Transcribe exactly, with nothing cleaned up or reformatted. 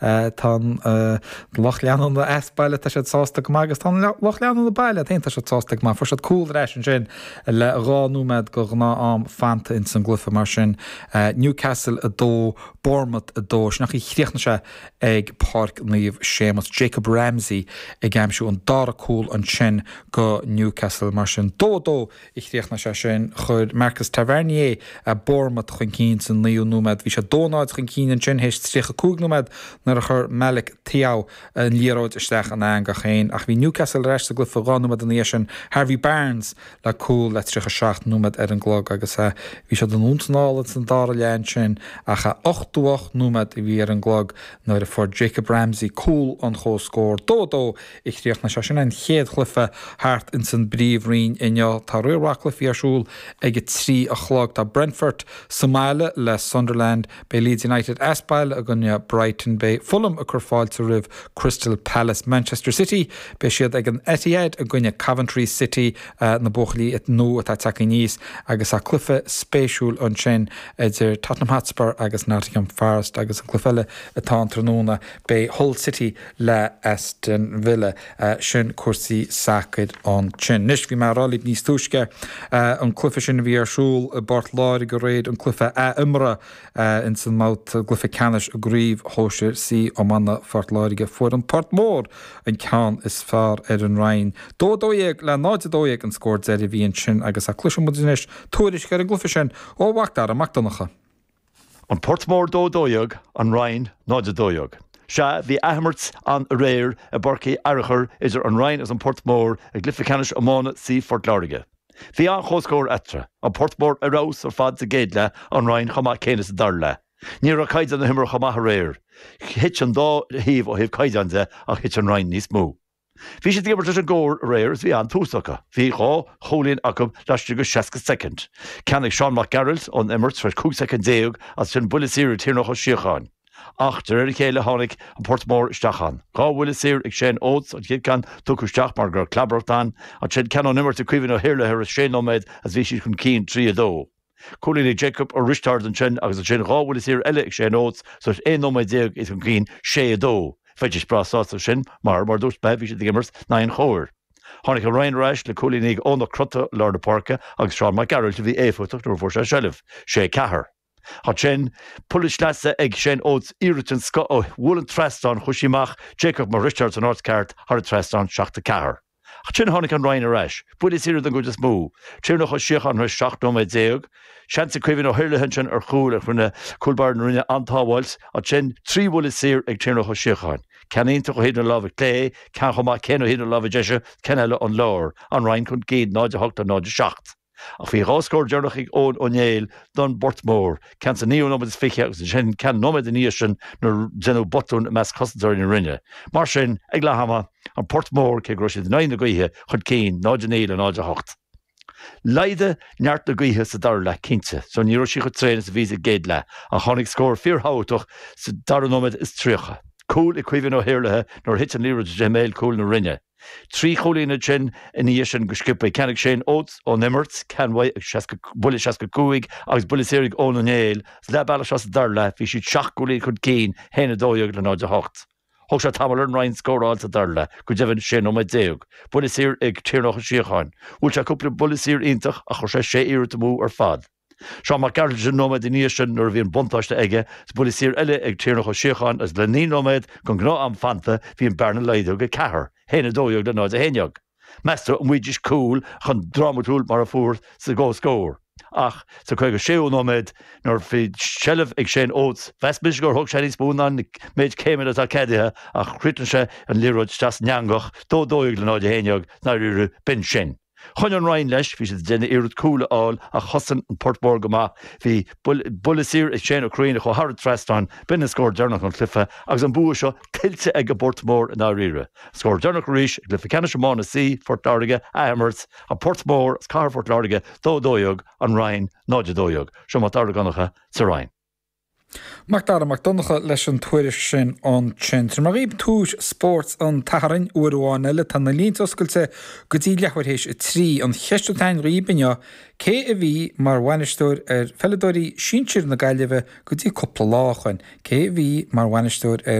Tá an lucht leanúna as baile tá siad sásta go maith agus tá an lucht leanúna baile féin tá siad sásta go maith. Fuair siad cúl ar ais ansin le dhá nóiméad go ghnáth-am fanta ins an gcluiche mar sin Newcastle a dó Bournemouth a dó sin an chaoi a chríochnaigh sé ag Páirc Naomh Séamus Jacob Ramsey ag aimsiú an dara cúl ansin go Newcastle mar sin dó dó a chríochnaigh sé sin chuir Marcus Tavernier a Bournemouth chun cinn san naoú nóiméad bhí sé dó náid chun cinn ansin théis tríocha cúig nóiméad nuair a chuir Malick Thiaw an liathróid isteach an eangach féin ach bhí Newcastle ar ais sa gcluiche dhá nóiméad ina dhiaidh sin Harvey Barnes le cúl le tríocha seacht nóiméad ar an gclog agus bhí siad anonn is anall san dara leath ansin ach a ochtó ocht nóiméad a bhí ar an gclog nuair a fuair Jacob Ramsey cúl an chomhscóir dó dó a chríochnaigh sé sin an chéad chluiche thart ins an bPríomhroinn inniu tá roinnt cluichí ar siúl ag a trí a chlog tá Brentford sa mbaile le Sunderland beidh Leeds United as baile i gcoinne Brighton beidh Fulham ag cur fáilte roimh Crystal Palace Manchester City beidh siad ag an Etihad i gcoinne Coventry City uh, na buachaillí nua atá tagtha aníos agus a cluiche spéisiúil ansin idir Tottenham Hotspur agus Nottingham Forest agus an cluiche eile atá an tráthnóna beidh Hull City le Aston Villa uh, sin cúrsaí sacair ansin. Anois bhí mé ag rá libh níos túisce uh, an cluiche sin a bhí ar siúl i bPort Láirge aréir an cluiche ath-imeartha uh, in san mbabhta cluiche ceannais i gCraobh Shóisir C iomána Phort Láirge fuair an Port Mór an ceann is fearr ar an Rinn. Dó dó dhéag le náid dó dhéag an scór deiridh a bhí ansin agus a cloisfidh muid anois tuairisc ar an gcluiche sin ó Mhac Mac Donncha. An Port Mór dó dó dhéag an Rinn náid dó dhéag. Sea bhí athimirt ann aréir i bPáirc Uí Fhearchair idir an Rinn agus an Port Mór i gcluiche ceannais iomána C Phort Láirge. Bhí an chomhscór eatarthu, an Port Mór ar fheabhas ar fad sa gcéad leath an Rinn chomh maith céanna sa dara leath. Ní raibh caighdeán na himeartha chomh maith aréir. Thit an dá thaobh ó thaobh caighdeán de ach thit an Rinn níos mó. Bhí siad ag imirt leis an gcóir aréir is bhí an-tús acu. Bhí dhá chúilín acu laistigh de seasca soicind. Ceann ag Seán Mac Gearailt ón imirt tar cúig soicind déag as sin buille saor ag Tiarnach Ó Síocháin. Ach de réir a chéile tháinig an Port Mór isteach ann. Dhá bhuille saor ag Shane Oates an chéad cheann tugtha isteach mar gur clabaireacht ann, ansin ceann ón imirt ag Caoimhín Ó hIarlaithe ar sé nóiméad as bhí siad chun cinn trí a dó. Cúilín ag Jacob Ó Risteard ansin agus ansin dhá bhuille saor eile ag Shane Oates so aon nóiméad déag iad chun cinn sé a dó. Bheidís breá sásta sin mar mar dúirt mé bhí siad ag imirt in aghaidh an chóir. Tháinig an Rinn ar ais le cúilíní ag Eoin Ó Crotta lár na páirce agus Seán Mac Gearailt a bhí éifeachtach nuair a fuair sé seilbh, sé ceathair. Ansin buille sleasa ag Shane Oates iarracht den scoth ó bhuail an trasnán chuaigh sí amach Jacob Mac Risteard san áit cheart thar an trasnán seacht a ceathair. Ansin tháinig an Rinn ar ais, buille saor den gcuid is mó, Tiarnach Ó Síocháin seacht nóiméad déag, Seans ag Caoimhín Ó hIarlaithe ansin ar chúl a rinne cúl báire na Rinne an-tsábháil, ansin trí bhuille saor ag Tiarnach Ó Síocháin. Ceann iontach ó thaobh na láimhe clé, ceann chomh maith céanna ó thaobh na láimhe deise, ceann eile ón lár, an Rinn chun cinn náid a hocht a náid a seacht. Ach bhí dhá scór deireanach ag Eoin Ó Néill don bPort Mór, ceann sa naoú nóiméad is fiche agus ansin ceann nóiméad ina dhiaidh sin nuair déanadh botún i measc chosantóirí na Rinne. Mar sin, ag leath ama, an Port Mór cé go raibh siad in aghaidh na gaoithe chun cinn náid a naoi le náid a hocht. Laghdaigh neart na gaoithe sa dara leath cinnte, so ní raibh sí chomh tréan is a bhí sa gcéad leath, ach tháinig scór fíorthábhachtach sa dara nóiméad is tríocha. Cúl ag Caoimhín Ó hIarlaithe nuair thit an liathróid i mbéal cúil na Rinne. Trí chúilín ansin ina dhiaidh sin go sciobtha ceann ag Shane Oates ón imirt, ceann ag buille seasca cúig agus buille saor ag Eoin Ó Néill, leath bealaigh sa dara leath bhí siad seacht gcúilín chun cinn haon a dó dhéag le náid a hocht. Thóg sé tamall ar an Rinn scóráil sa dara leath, go deimhin sé nóiméad déag. Buille saor ag Tiarnach Ó Síocháin. Bhuail sé cúpla buille saor iontach ach chuir sé sé iarracht amú ar fad. Seán Mac Gearailt an nóiméad ina dhiaidh sin nuair a bhí an buntáiste aige, is buille saor eile ag Tiarnach Ó Síocháin agus le naoi nóiméad den ghnáth-am fanta bhí an bearna laghdaithe go ceathair, haon a dó dhéag le náid a haon déag. Meas tú an bhfaighidís cúl chomh drámatúil mar a fuair sa gcomhscór. Ach sa caoga séú nóiméad nuair bhí seilbh ag Shane Oates, mheas mise gur thóg sé níos mó ná an méid céimeanna atá ceadaithe ach chríochnaigh sé an liathróid isteach san eangach, dó dó dhéag le náid a haon déag, dáiríre b'in sin. Choinnigh an Rinn leis, bhí siad ag déanamh iarracht cúl a fháil ach chosain an Port Mór go maith. Bhí buille saor ag Shane Ó Curraoin a chuaigh thar an trasnán, b'in an scór deireanach an chluiche agus an bua seo tuillte ag an bPort Mór i ndáiríre. Scór deireanach arís i gcluiche ceannais iomána C, Phort Láirge, athimirt, an Port Mór as Cathair Phort Láirge dó dó dhéag, an Rinn náid a dó dhéag. Seo Mac Dara Donncha sa Rinn. Mac Dara Mac Donncha leis an tuairisc sin ansin. Tabharfaidh mé dhaoibh tuairisc spóirt an tSathairn uair amháin eile tá na línte oscailte go dtí leathuair théis a trí an cheist atá againn dhaoibh inniu cé a bhí mar bhainisteoir ar pheileadóirí sinsir na Gaillimhe go dtí cúpla lá ó shin, cé a bhí mar bhainisteoir ar